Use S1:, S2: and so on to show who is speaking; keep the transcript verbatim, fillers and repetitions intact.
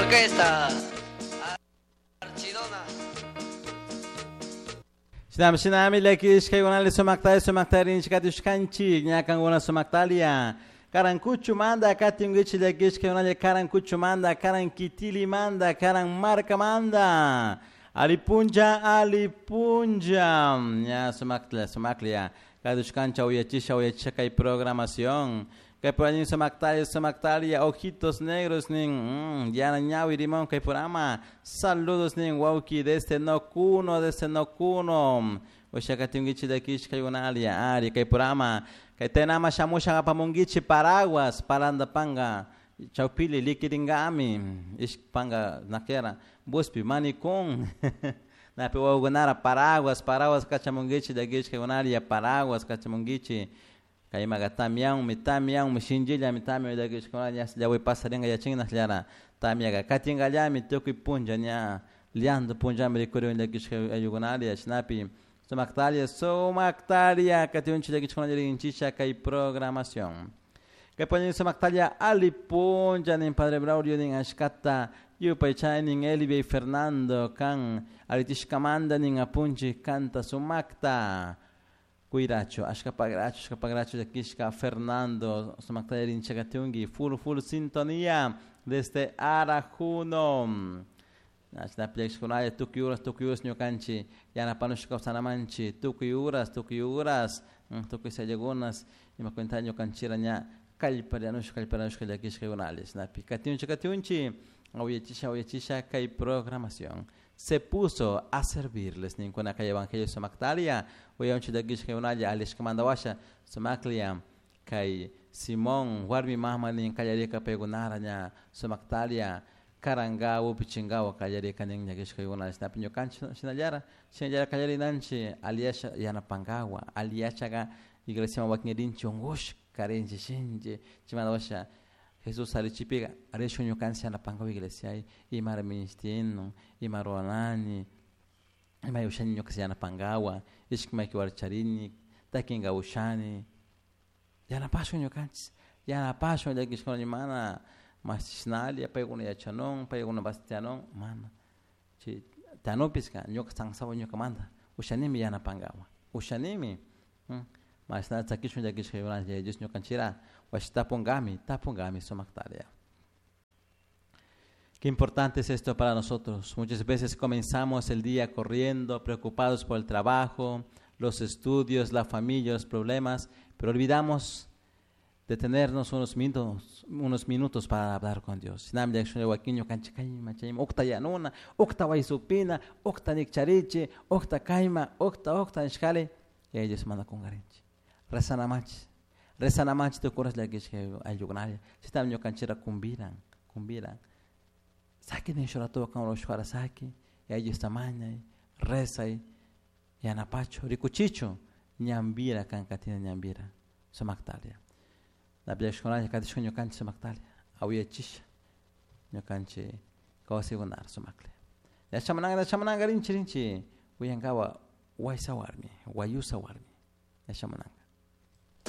S1: Orquesta. Archidona.
S2: Shinami shinami llakishkaykunali sumakta sumakta rinchikatishkanchik ñakankuna sumaktalia Karankuchumanta katinkichik llakishkaykunalla Karankuchumanta Karankitilimanta Karanmarkamanta Alipuncha alipuncha ña sumaktla sumaklia katushkancha uyachisha uyachisha kay programación kay por sumaktalia sumaktalia ojitos negros nin mm, yana ñawi rimón kay programa saludos nin wauki desde Nocuno desde Nocuno ushakatinkichik llakishkaykunalia ari kay programa kay tenama shamusha apamunkichik paraguas parandapanga chawpili likiringami ishpanga nakera buspi manicón napi wawakunara paraguas paraguas kachamunkichik llakishkaykunalia paraguas kachamunkichik kaymaqa tamianmi tamianmi shinchillami tamia llakishkuna ña llawi pasarinka yachinna tamiaka katinkallami tukuy punlla ña llanto punllami rikurin llakishka ayllukunalia chashnapi sumaktalia sumaktalia katiunchik llakishkuna rinchikcha kay programación kay poñin sumaktalia ali punlla nin Padre Braulio nin ashkata yupaychay nin Elvia y Fernando kan aritishkamanta nin apunchik kanta sumakta cuiracho ashkapagracho ashkapagracho llakishka Fernando sumakta rinchakatiunki full full sintonía desde Arajuno chashnapi llakishkunalla tukuy uras tukuy uras ñukanchik yanapanushka kawsanamanchik tukuy uras tukuy uras tukuy sallakunas ima cuenta ñukanchikra ña kallparianushka kallparianushka llakishkaykunalla chashnapi katiunchik katiunchik awillachisha awillachisha kay programación se puso a servirles ninkuna kay evangelio sumaktalia uyanchik llakishkaykunalla alishkamanta washa sumaklia kay Simón warmi mama nin kallarika paykunara ña sumaktalia karankawa upichinkawa kallarika nin llakishkaykuna chashnapi ñukanchik shinallara shinallara kallarinanchik aliyasha yanapankawa aliyashaka iglesiaman wakin rinchik unkushka rinchik shinchi chaymanta washa Jesús arichipika rishun ñukanchik yanapankawa iglesia imara ministinu ima ruranani ima ushani ñuka yanapankawa ishki maki warcharini takinka ushani yanapashun ñukanchik yanapashun llakishkuna mana mashishnalla paykuna yachanun paykuna bastianun mana chay tanupiska ñuka sansawa ñukamanta ushanimi yanapankawa ushanimi mashna tzakishun llakishkaykunalla Yaya Dios ñukanchikra washi tapunkami tapunkami sumaktaria. Qué importante es esto para nosotros. Muchas veces comenzamos el día corriendo, preocupados por el trabajo, los estudios, la familia, los problemas, pero olvidamos detenernos unos minutos, unos minutos para hablar con Dios. Ukta yanuna, ukta waysupina, ukta nikcharichi, ukta kayma, ukta ukta nishkali, y ellos manda kungarinchi. Rezanamanchik, rezanamanchik tukuras llakishka ayllukunalla, chaytami ñukanchikra kumbiran, kumbiran. Saki nin shuratuwa kan rushwara saki, y Diosta mañay, rezay, yanapachu, rikuchichu, ñambira kan katina ñambira, sumaktalia. Napillakushkunalla katishun ñukanchik sumaktalia, awillachisha ñukanchik kawsaykunara sumaklla. Yachamananka yachamananka rinchi rinchi uyankawa waysa warmi, wayusa warmi, yachamananka.